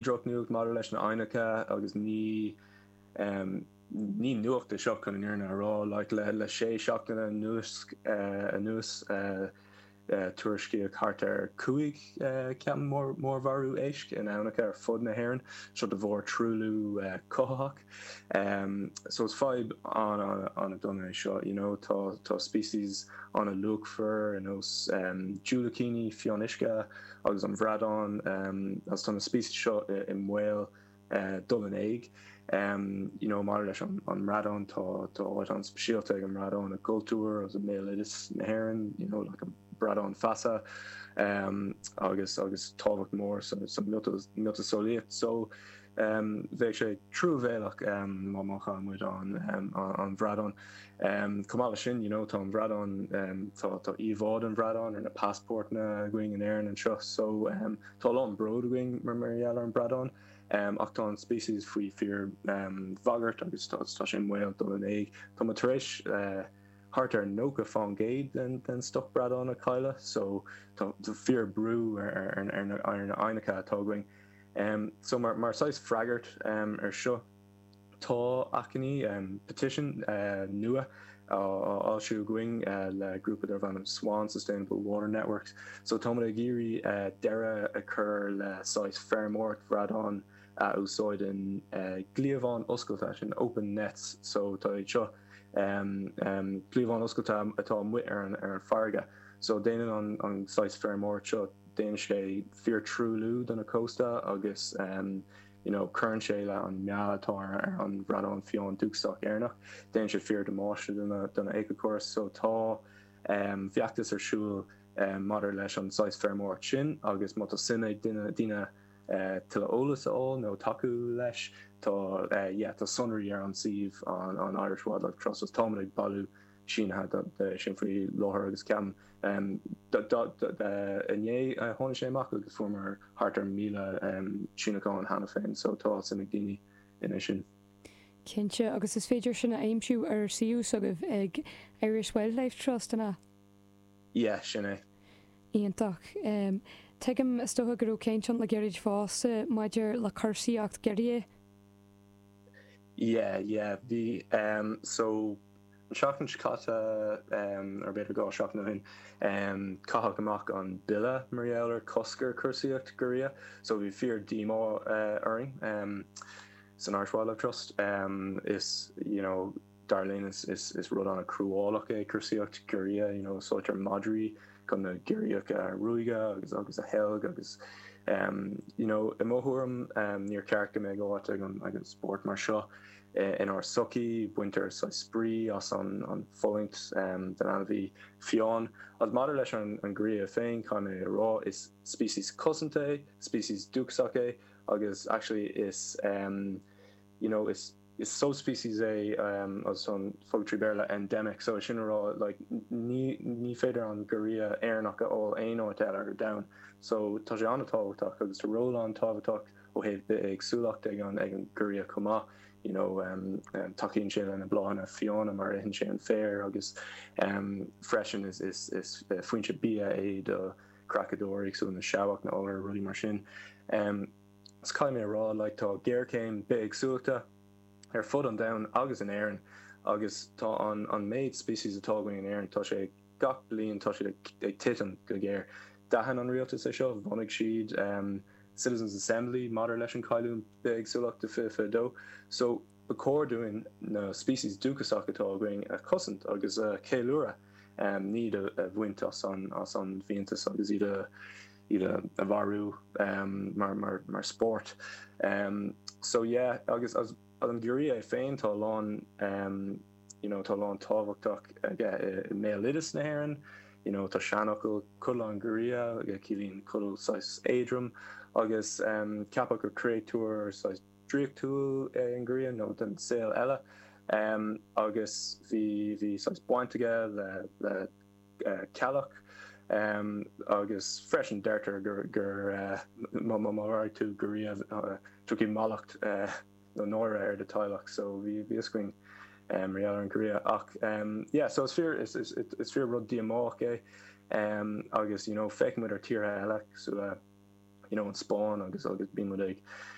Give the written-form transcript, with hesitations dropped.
Drochnuacht maidir leis na aibhneacha agus ní ní nuacht é seo chun an fhírinne a rá. Like le le sé seachtaine anuas anuas tuairiscíodh thart ar 5 ceapaim mórmharú éisc in aibhneacha ar fud na hÉireann, seo de bharr truailliú cothaitheach. So is fadhb an-an-an-dona é seo, you know, tá tá species an-luachmhar ar nós diúilicíní fionnuisce, agus an bhradán agus tá na species seo i mbaol dul in éag. You know maidir leis an mbradán tá tá áit an-speisialta ag an mbradán i gcultúr agus i mbéaloideas na hÉireann, you know like an bradán feasa agus agus tábhacht mór sa sa miotaseolaíocht. So bheadh sé truamhéalach má má chailleann muid an an bhradán. Chomh maith leis sin, you know, tá an bhradán, tá tá íomhá den bhradán ar na passportanna againn in Éirinn anseo so tá a lán bród againn mar mar gheall ar an bradán ach tá an species faoi fíor bhagairt agus tá tá sé i mbaol dul in éag. Tá muid tar éis thart ar 90% den den stoc bradán a chailleadh so tá tá fíor brú ar ar ar na ar na aibhneacha atá againn. So mar mar saghas freagairt ar seo, Tá achainí, petition, nua á fhoilsiú againn le grúpa darb ainm SWAN, Sustainable Water Networks. So táimid ag iarraidh deireadh a chur le saghas feirmeoireacht bhradán a úsáideann cliabháin oscailte, sin open nets. So tá iad seo, cliabháin oscailte atá amuigh ar an farraige. So déanann an saghas feirmeoireacht seo, déanann sé fíor-truailliú do na cósta agus you know cuireann sé le an meath atá ar an bhradán fiáin dúchasach Éireannach, déanann sé fíor damáiste do na do na éiceachórais so tá um feachtas ar siúl um maidir leis an saghas feirmeoireacht sin agus má tá suim ag duine daoine uh tuilleadh eolas a fháil nó tacú leis tá uh yeah tá sonraí ar an suíomh an an Irish Wildlife Trust agus táimid ag bailiú sínithe de sin faoi láthair agus ceapaim inné a tháinig sé amach agus fuaireamar thart ar 1,000 síniúchán cheana féin so tá suim ag daoine ina sin. Cinnte, agus is féidir sin a aimsiú ar suíomh s'agaibh ag Irish Wildlife Trust, an ea? Yeah, sin é. Iontach. Tuigim, is dócha go raibh caint ann le gairid fosta maidir le cúrsaíocht giorria. Yeah, yeah, bhí. So. An tseachtain seo caite, nó b'fhéidir 2 seachtain ó shin, caitheadh amach an bille mar gheall ar cosc ar cúrsaíocht giorria so bhí fíor díomá orainn san Irish Wildlife Trust. Is you know dar linn is is rud an-chruálach é cúrsaíocht giorria, you know úsáidtear madraí chun na giorriacha a ruaigeadh agus agus a sheilg agus you know i mo thuairim níor cheart go mbeadh áit ag an ag an spórt mar seo. Inár sochaí, baintear saghas spraoi as an fulaingt den ainmhí fiáin. Agus maidir leis an ngiorria féin, caithfidh mé a rá, is species cosanta é, species dúchasach é, agus actually is you know is subspecies é agus an focal trí Béarla endemic, so é sin a rá like ní ní féidir an giorria Éireannach a fháil aon áit eile ar domhan. So tá sé an-tábhachtach agus tá ról an-tábhachtach Ó thaobh bithéagsúlacht ag an ag an ghiorria chomh maith, you know tacaíonn sé le na bláthanna fiáine mar itheann sé an féar agus freisin is is is foinse bia é do chreachadóirí cosúil na seabhac, na iolair, rudaí mar sin. So caithfidh mé a rá like tá géarchéim bithéagsúlachta ar fud an domhain agus in Éirinn agus tá an an méid species atá againn in Éirinn tá sé gach bliain tá siad ag titim go géar. D'aithin an rialtas é seo, bhunaigh siad Citizens Assembly maidir leis an cailliúint bithéagsúlachta 2022. So ba chóir dúinn na species dúchasach atá againn a chosaint agus a cheiliúradh, ní iad a bhaint as an as an bhfiántas agus iad a iad a mharú mar mar mar spórt. So yeah agus as an giorria é féin tá a lán you know tá a lán tábhachtach aige i mbéaloideas na hÉireann, you know tá seanfhocal codladh an ghiorria, ciallaíonn codladh saghas éadrom agus ceapadh gur créatúr saghas draíochtúil é an giorria nó den saol eile agus bhí bhí saghas baint aige le le ceallach agus freisin deirtear gur gur má má mharaigh tú giorria tiocfaidh mallacht nó náire ar do teaghlach so bhí bhí fhios againn mar gheall ar an ghiorria ach yeah so is fíor is is is fíor rud díomách é agus you know féachann muid ar tíortha eile cosúil le you know an Spáinn agus agus bíonn muid ag.